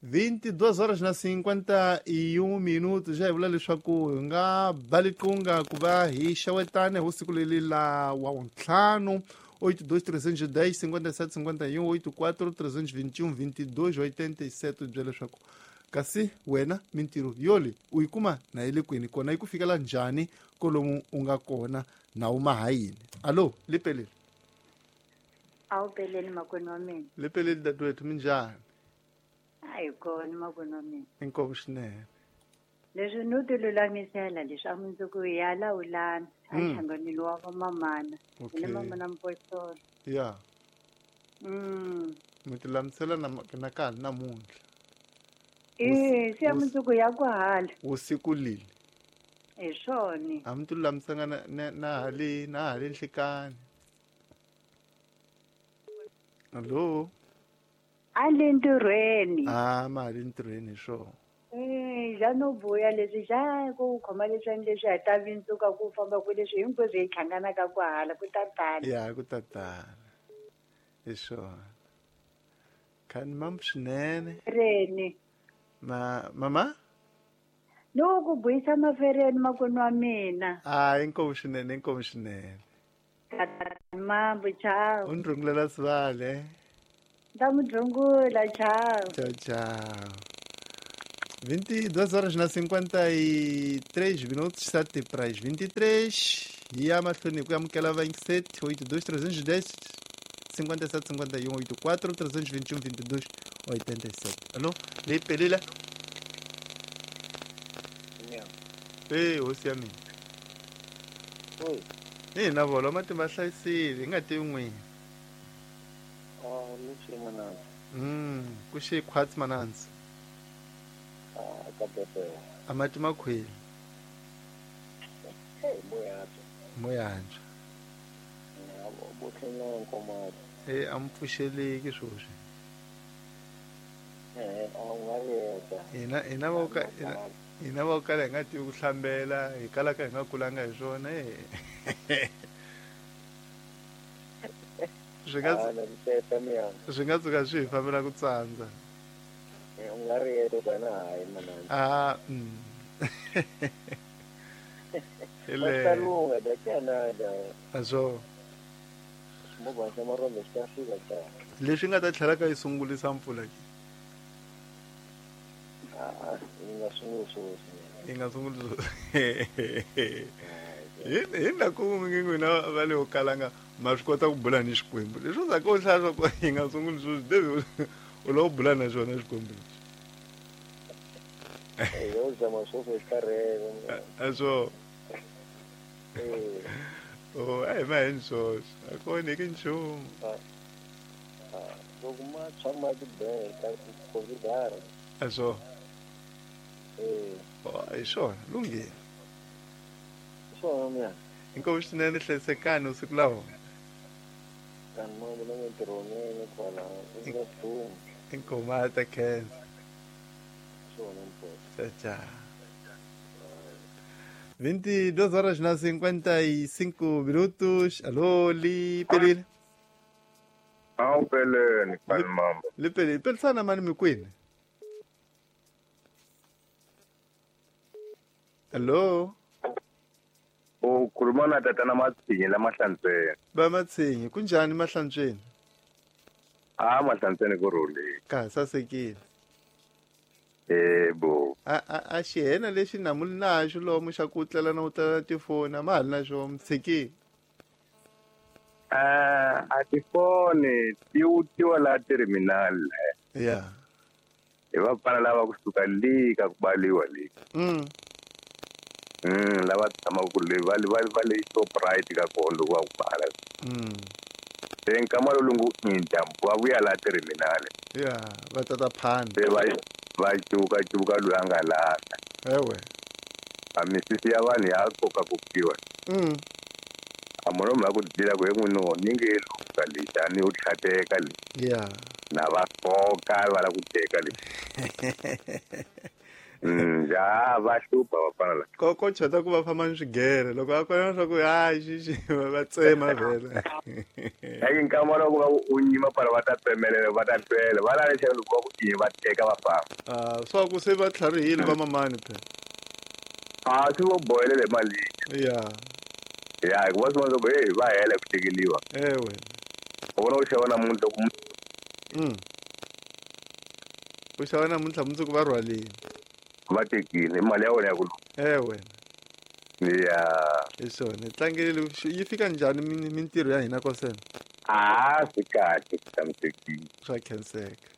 22 horas na 51 minutos. Já hi vula leswaku hi nga ba liqunga ku va hi xewetane hi siku leri la wa ntlhanu 82 310 57 51 84 321 22 87 bya leswaku kasi wena mintirho yoli u yi kuma na yi le kwini kona yi ku fikela njhani kolomu u nga kona na uma ha yini. Alo, lipeleli. A wu peleli makwenu wa mina. Lipeleli dadewethu, minjhani? A hi kona makwenu wa mina. Inkomu swinene. Leswi no ti lulamisela leswi a mundzuku hi ya lawulana a nhlanganweni wa vamamana. Okay. Hi le mamana Mpostola. Ya. Mi ti lulamisela na ka namuntlha. Eh, se mundzuku ya ku hala. Usiku lili. Hi swona. A mi ti lulamisanga na hale na hale nhlikani. Allo. A le ntirhweni. Ah, ma le ntirhweni hi swona. Eh, ja no vuya leswi ja ku khoma leswi leswi hi ta vindzuka ku famba ku leswi hinkwaswo hi hlanganaka ku hala ku ta tala. Ya ku ta tala. Hi swona. Khani mam swinene. Reni. Ma mama? No ku buyisa mafereni makwenu wa mina. Ah, inkomu swinene, inkomu swinene. Mambo, ciao. U ni rhungulela sivale. Ta mi rhungula, ciao. Tchau, tchau. 22 horas na 53 minutos, 7 para as 23. E a mahlweni ku amukela 27 82 310 57 51 84 321 22 87. Alô, leyi pelile? Eh, hosi ya mina. Oi. Ni na vona matimba hlayisile, hi nga tivi n'wini. Ah, ni xi mananzi. Ku xi khwatsi mananzi. Ah, ka pepe. A mati makhweli. Hey, moyantswa. Moyantswa. Bo tlhela nkomati. Eh, a mi pfuxeleki swoswi. Eh, a nga yeta. Hina va ka hina va kala hi nga tivi ku hlambela, hi kalaka hi nga kulanga hi swona eh. Swi nga swi nga tshuka swi hi fambela ku tsandza. U nga ri yeta wena hayi mananzi. Ah, Ile. Masalunga da Canada. Azo. Movha xa marombe xi ta fika ta. Leswi nga ta tlhela ka yi sungulisa mpfula ke. Ah, yi nga sunguli sweswi. Yi nga sunguli sweswi. Hi na ku ngi n'wina va le kalanga ma swi kota ku bula ni Xikwembu. Leswi u zaka u hlaya swa ku yi nga sunguli sweswi, David u lava ku bula na xona Xikwembu lexi. Eh, yo zama sweswi xi karhele. Azo. Oh, a hi ma heni swoswi. A ku onheki nchumu. Loko ma tshama tibele ta considera. Azo. Eh. Oh, hi swona, lunghile. Swona mina. Inkomu swinene, hlayisekani usiku lawo. Kanti mama na mintirhweni kwala, i nga hlumi. Inkomu a ta khensa. Swona mfo. Tchau, tchau. 22 horas na 55 minutos. Alô, Lipelile. Awu peleni, kani mama. Lipelile, pelisana mani mikwini. Alô. Ukhuluma na tatana Matsinyi la Mahlantsweni. Ba Matsinyi, kunjani Mahlantsweni? Ah, Mahlantsweni ku rhulile. Ka sasekile. Yebo. A xihena lexi namuli naxo lomu xa ku tlela na u tlela tifoni a ma ha ri na xo mi tshikile. A tifoni ti wutiwa laha terminal. Ya. Hi vafana lava kusuka le ka ku baliwa le. Lava tshamaka ku le va va le Shoprite ka kona loko va ku bala. Se nkama lowu ngo inda va vuya laha terminal. Ya, va tata phanda. Se va cuka cuka loyi a nga lahla. Ewe. A misisi ya vanhu ya koka kokiwa. A munhu mhaka ku dila ku he n'wini ni nge luka lexi a ni yo tlhateka le. Ya. Na va koka va lava ku teka le. Ja va hlupha vafana la. Ko chota ku va famba ni swigere loko a kona swa ku hayi xixi va tsema vhele. Eki nkama loko va u nyima para va ta tsemelela va ta twela va la lexi loko va ku i va teka va famba. Swa ku se va tlharihile va mamani phela. Swi vo bohelele mali. Ya. Ya hikuva swi vona ku hey va hela ku tekeliwa. Ewe. U vona u xava namuntlha ku U xava namuntlha mundzuku va rhwalile. Va tekile mali ya wena ya ku. Ewe. Ya. Hi swona tlangelele yi fika njhani mintirho ya hina kosena? Swi kahle swi tshamisekile. Swa khenseka.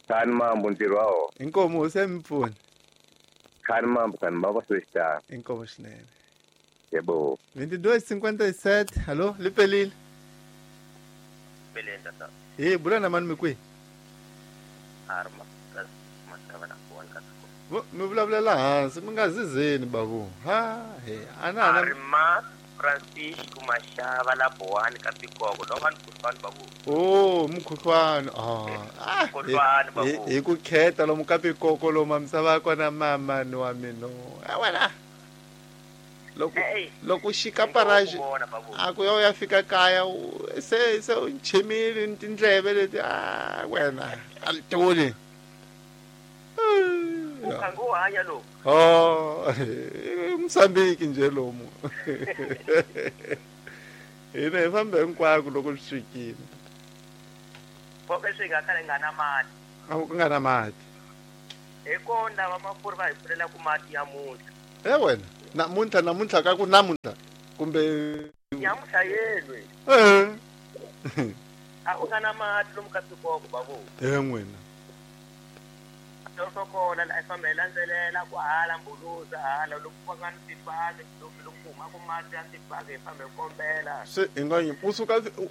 Khani mambo ntirho wa wona. Inkomo hosi ya mi pfuna. Khani mambo khani mambo swi xitano. Inkomo swinene. Yebo. 22:57. Hallo, lipelile. Pelile tata. Hey, bula na mani mi kwihi? Arma. Mi vulavulela hansi mi nga zizeni babu. Ha he ana Arma Francisco Mashava la Bohani ka Pikoko lo vanhu mukhuhlwani babu. Oh, mukhuhlwani. Mukhuhlwani babu. Hi ku kheta lomu ka Pikoko lomu misava ya kona mama ni wa mina. Wena. Loko xika paraji a ku ya fika kaya se u nchimile tindleve leti wena a toli. Ukhango hanya lo. Msambiki nje lomu. Hina hi famba hinkwako loko swi fikile. Konke swi nga kale nga na mati. A ku nga na mati. Hi kona va mafuri va hi pfulela ku mati ya muntlha. Wena namuntlha ka ku namuntlha kumbe nyamuntlha yelwe. A u nga na mati lomu ka Pikoko babu. N'wina. Sokola la famba hi landzelela ku hala mbuluza hala loko ku nga ni tipaki loko ku huma ku mati ya tipaki hi famba hi kombela. Se hi nga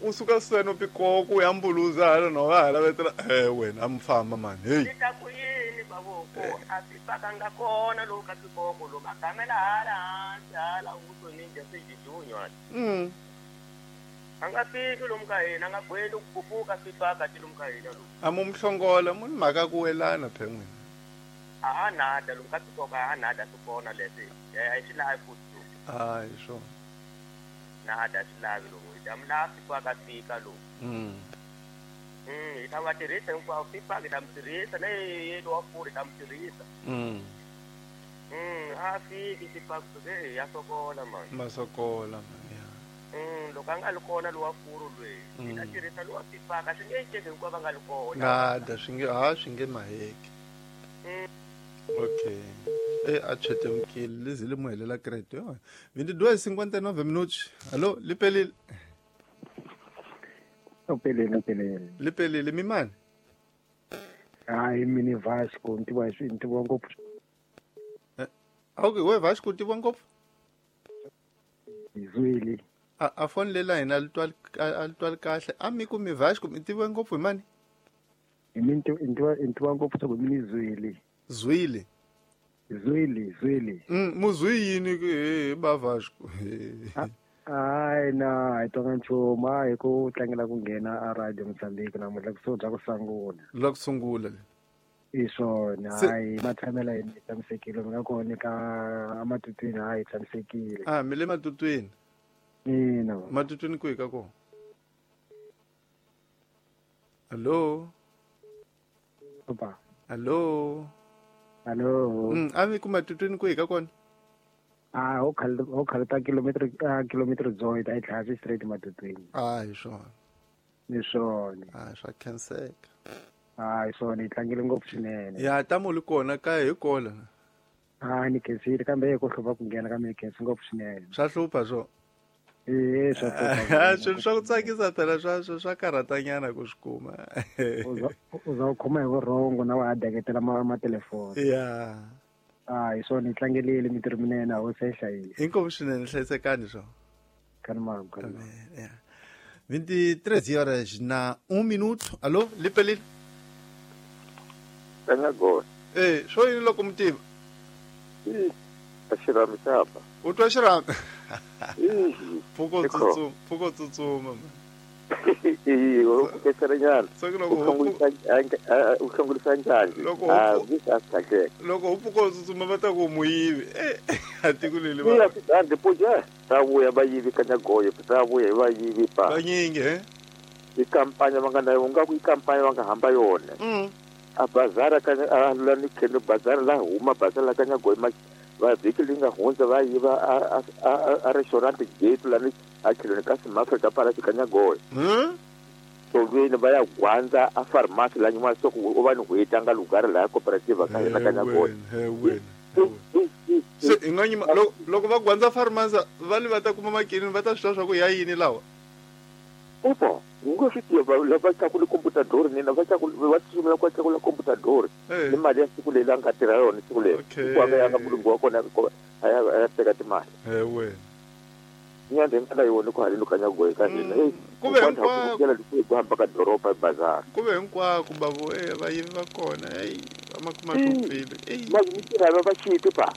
u suka seno Pikoko ya mbuluza hala no va hala vetela wena a mi famba mani hey. Ni ta ku yini babu ku a tipaka nga kona loku ka Pikoko loku a gamela hala hansi hala u ninja swijijunywa. A nga fiki lomu ka hina a nga gweli ku kupuka swipaka ti lomu ka hina lomu. A mu mhlongola mu ni mhaka ku welana phe n'wina. A nada lomu ka Pikoko a nada swi kona leswi a swi lavi futhi. Hi swona. Nada swi lavi lomu hi ta mi lava swipaka fika lomu. Hi ta va tirhisa hinkwavo swipaka hi ta mi tirhisa na yelo wa furi hi ta mi tirhisa. A fiki swipaka ya sokola mani. Masokola mani. Loko a nga li kona lowa furu lweyi hi ta tirhisa lowa pipaka swi nge ceki hinkwavo va nga li kona. Nada swi nge swi nge maheki. Okay. A chetemkile lizile mu helela credit yo. 22:59 minutos. Hallo, lipelile. Upelile. Lipelile mi mani? Hayi mini Vasco ntiwa swi ntiwa ngopfu. Okay, we Vasco ntiwa ngopfu. Zwili. A phone lela hina a litwali kahle. A mi ku mi Vasco mi tiviwe ngopfu hi mani? Hi mi ntiwa ngopfu swa ku mi ni Zwili. Zwili. Zwili. Muzwi yini hi ba Vasco? Hayi na hi twanga nchumu a hi ku tlangela ku nghena a radio Mozambique namuntlha kusuhi bya ku sungula. La ku sungula le. I swona hayi matshamela hi tshamisekile mi nga kona ka ematutwini hayi tshamisekile. Mi le matutwini? Ina. Matutwini kwihi ka kona? Hallo. Opa. Hallo. Hallo. A mi ku matutwini kwihi ka kona? Ho khaleta kilometer dzonga a yi tlhela straight matutwini. Hi swona. Ni swona. Swa khenseka. Hi swona hi tlangile ngopfu swinene. Ya tamo li kona kaya hi kola. Ni khensile kambe hi ku hlupha ku nghena kambe ni khensi ngopfu swinene. Swa hlupha swo. Swa hlupha. Swilo swa ku tsakisa phela swa karhatanyana ku swi kuma. U za u khoma hi vurhongo na wa ha deketela matelefoni. Ya. Hi swona hi tlangelile mintirho minene a hosi yi hlayisa. Inkomu swinene hlayisekani swo. Khani mambo. Ya. 23 horas na 1 minuto. Alô, lipelile. Swo yini loko mi tiva? A xirhami xa ba. U twa xirhami? Pfuko tsutsuma. Nyana u hlongorisa njhani? Loko u pfuka u tsutsuma va ta ku muyivi a tiko leli va ta vuya va yivi Kanyagoyo, ta vuya hi va yivi pa vanyingi i kampanya va nga na u nga ku i kampanya va nga hamba yona. A bazara ka a la ni khelo bazara la huma bazara la Kanyagoyo va vhiki leyi nga hundza va yiva a restaurant gate la ni a khelweni ka Simafrika pala Kanyagoyo. Tsoveni va ya gwandza a pharmacy la nyin'wana swa ku u va ni n'hweti a nga lugari laha cooperative ka hina Kanyagoyo. Se hi nga nyima loko va gwandza pharmacy va li va ta kuma makinini va ta swi tiva swa ku ya yini lawa. Opa, u nga swi tiva lava tlakule computador nina va tlakule va tsutsumela ku tlakula computador ni mali ya siku leri a nga tirha yona siku leri ku a nga ya nga mulungu wa kona a ya teka timali. Nyanda nga yona ku haleni Kanyagoyo ka hina. Kuve hinkwako ku hamba ka doroba bazar. Kuve hinkwako bavo va yivi va kona va makuma hlupfile. Va va xiti pa.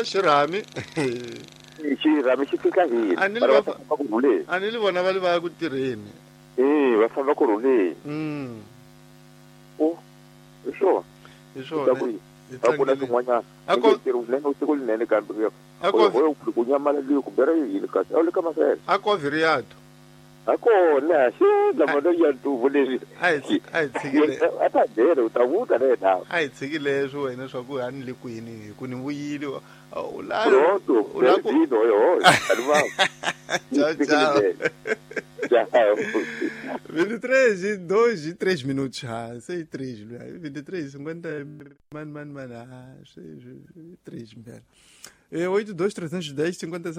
Xirhami. Xirhami xi fika hina. A ni li vona va li va ya ku tirheni. Va famba ku rhuleni. Hi swona. Hi swona. A ku na swin'wanyana. Siku linene kambe ku nyamala leyi ku bera yini kasi a wu le ka masele. A ko viriato. A kona xi lama ya ntuvu leswi. A hi tshikile. A ta byela u ta vuta na yena. A hi tshikile leswi wena swa ku a ni le kwini hi ku ni vuyile. U la u la ku Tchau, tchau. 23, 2, 3 minutos. 6, 3, 23, 50. Mano, mano, mano. 3, 8, 2, 310, 50.